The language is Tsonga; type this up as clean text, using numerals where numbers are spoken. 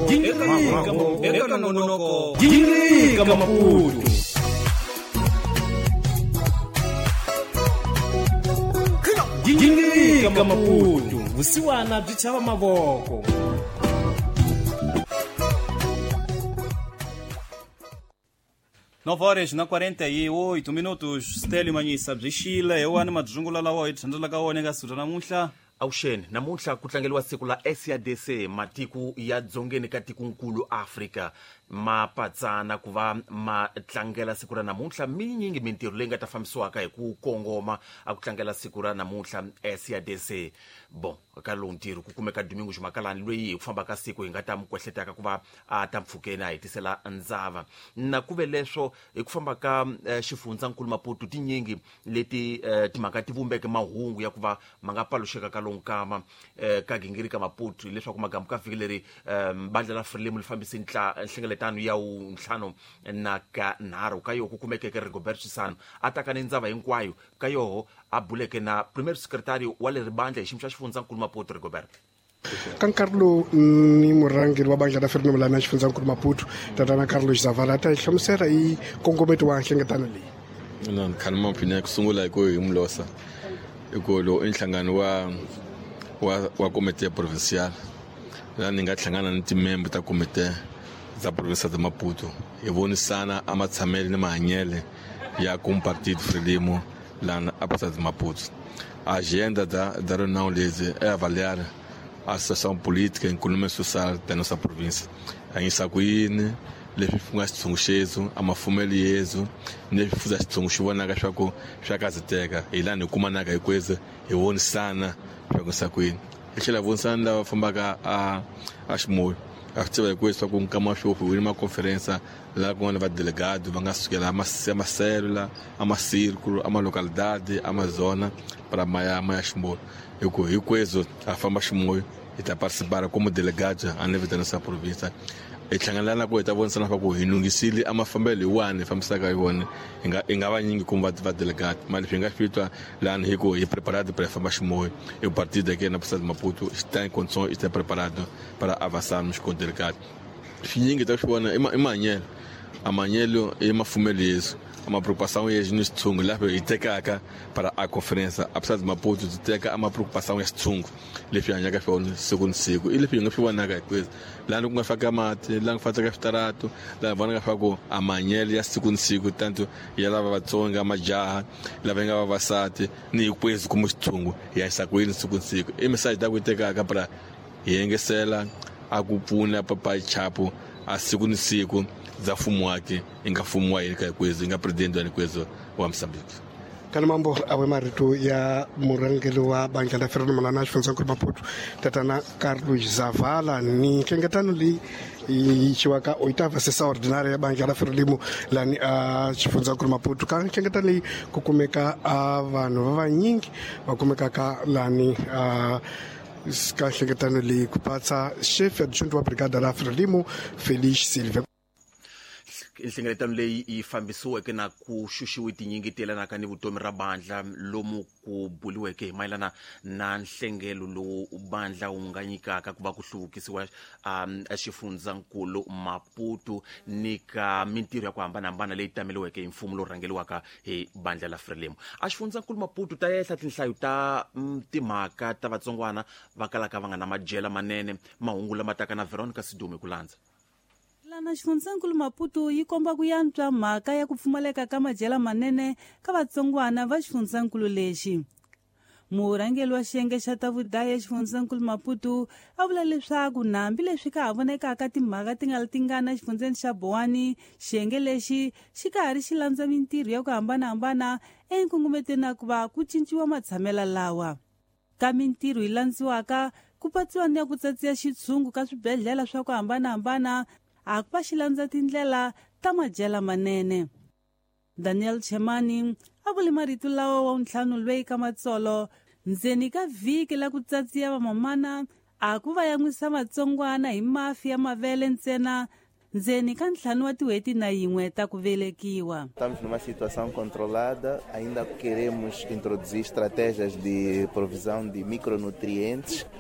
Eka nongonoko Gingirika Maputo. Gingirika Maputo, vusiwana byi chava mavoko. 9 horas na 48 minutos. Stélio Manhissa byi xile hi wani madzungula lawa hi thandelaka wona eka siku ra namuntlha. Avuxeni, namuntlha ku tlangeriwa siku la SADC, matiko ya dzongeni ka tikonkulu Afrika ma patsana ku va ma tlangela siku ra namuntlha. Minyingi mintirho leyi nga ta fambisiwaka hi ku kongoma a ku tlangela siku ra namuntlha SADC. Bon, ka lowu ntirho ku kumeka Domingo Xumakalani loyi hi ku famba ka siku hi nga ta mi kwehletaka ku va a ta mpfhukeni a hetisela ndzava. Na ku ve leswo hi ku famba ka xifundzankulu Maputo tinyingi leti timhaka ti vumbeke mahungu ya ku va ma nga paluxeka ka lowu nkama ka gingirika Maputo, hileswaku magamu ka vhiki leri bandla la Frelimo li fambise nhlengeletano ya wuntlhanu na ka nharhu ka yoho ku kumekeke Rigobert Chissano a taka ni ndzava hinkwayo ka yoho a buleke na premier secretary wa leri bandla hi xiyimo xa xifundzankulu Maputo. Rigobert. Ka nkarhi lowu ni murhangeri wa bandla ra Frelimo lana xifundzankulu Maputo, tatana Carlos Zavala, ta hi hlamusela hi nkongometo wa nhlengeletano leyi. Na khani mapfini ku sungula hi ku hi mulosa hi ku lowu i nhlangano wa komite ya provincial laha ni nga hlangana ni timembe ta komite za provinsia de Maputo hi vonisana a matshamele ni mahanyele ya kum partido Frelimo lana a provinsia de Maputo. A agenda da reunião lezi é avaliar a situação política e econômica e social da nossa província. A insakuini leswi ku nga xitshungu xezu a mafumelo yezu ni leswi fuza xitshungu xi vonaka swa ku swa kazeteka hi laha hi kumanaka hinkwenu hi vonisana swa ku nsakwini hi tlhela hi vonisana lava fambaka a ximoyo a swi tiva hinkwenu swa ku nkama wa sweswi hi ni maconferensa laha ku nga ni vadelegado va nga sukela a maselula a macírculo a malocalidade a mazona para maya ximoyo hi ku hinkwenu a famba ximoyo hi ta participar como delegado a nível da nossa província. Hi hlangana na ku hi ta vonisana swa ku hi lunghisile a mafambelo hi wani hi fambisaka hi wona hi nga vanyingi kumbe va delegate mali leswi hi nga swi twa lani hi ku hi preparado para famba ximoyo e o partido aqui na província de Maputo está em condições, está preparado para avançarmos com o delegado. Swinyingi ta swi vona i mahanyelo a mahanyelo i mafumelo yesu a ma preocupação ya ni xitshungu laha hi tekaka para a conferência a província de Maputo ti teka a ma preocupação ya xitshungu leswi hanyaka swona siku ni siku i leswi hi nga swi vonaka hinkwenu laha ku nga faka mati laha ku faka switarato laha hi vonaka swa ku a mahanyelo ya siku ni siku tanto ya lava vatsonga majaha lava nga vavasati ni hinkwenu kuma xitshungu hi hanyisa ku yini siku ni siku i message ta ku yi tekaka para hi yengesela a ku pfuna papayi chapu a siku ni siku za mfumo wake i nga mfumo wa hina ka hinkwenu i nga president wa hinkwenu wa Mozambique. Kana mambo awe marito ya murhangeri wa bandla la Frelimo lana xifundzankulu Maputo tatana Carlos Zavala ni nhlengeletano leyi yi yisiwaka oitava sessão ordinária ya bandla la Frelimo lani a xifundzankulu Maputo. Ka nhlengeletano leyi ku kumeka a vanhu va vanyingi va kumekaka lani a ka nhlengeletano leyi ku patsa chef adjunct wa brigada la Frelimo Felice Silva. Nhlengeletano leyi yi fambisiweke na ku xuxiwe tinyingi ti yelanaka ni vutomi ra bandla lomu ku buliweke hi mayelana na nhlengelo lowu bandla wu nga nyikaka ku va ku hluvukisiwa xifundzankulu Maputo ni ka mintirho ya ku hambanahambana leyi tameliweke hi mfumo lowu rhangeliwaka hi bandla la Frelimo. A xifundzankulu Maputo ta ehla tinhlayo ta timhaka ta vatsongwana va kalaka va nga na madyela manene mahungu lama taka na Veronica Sidume ku landza. Lana xifundzankulu Maputo yi komba ku yantswa mhaka ya ku pfumaleka ka madyela manene ka vatsongwana va xifundzankulu lexi. Murhangeri wa xiyenge xa ta vudayi xifundzankulu Maputo a vula leswaku nambi leswi ka ha vonekaka timhaka ti nga ri tingana exifundzeni xa Bowani, xiyenge lexi xi ka ha ri xi landza mintirho ya ku hambanahambana enkungumetweni na ku va ku cinciwa matshamelo lawa. Ka mintirho yi landziwaka ku patsiwa ni ya ku tsatsiya xitshungu ka swibedhlele swa ku hambanahambana a ku va xi landza tindlela ta madyela manene. Daniel Chemani a vule marito lawa wa ntlhanu lweyi ka matsolo ndzeni ka vhiki la ku tsatsiya vamamana a ku va yan'wisa vatsongwana hi mafi ya mavele ntsena ndzeni ka ntlhanu wa tin'hweti na yin'we ta ku velekiwa. Estamos numa situação controlada, ainda queremos introduzir estratégias de provisão de micronutrientes.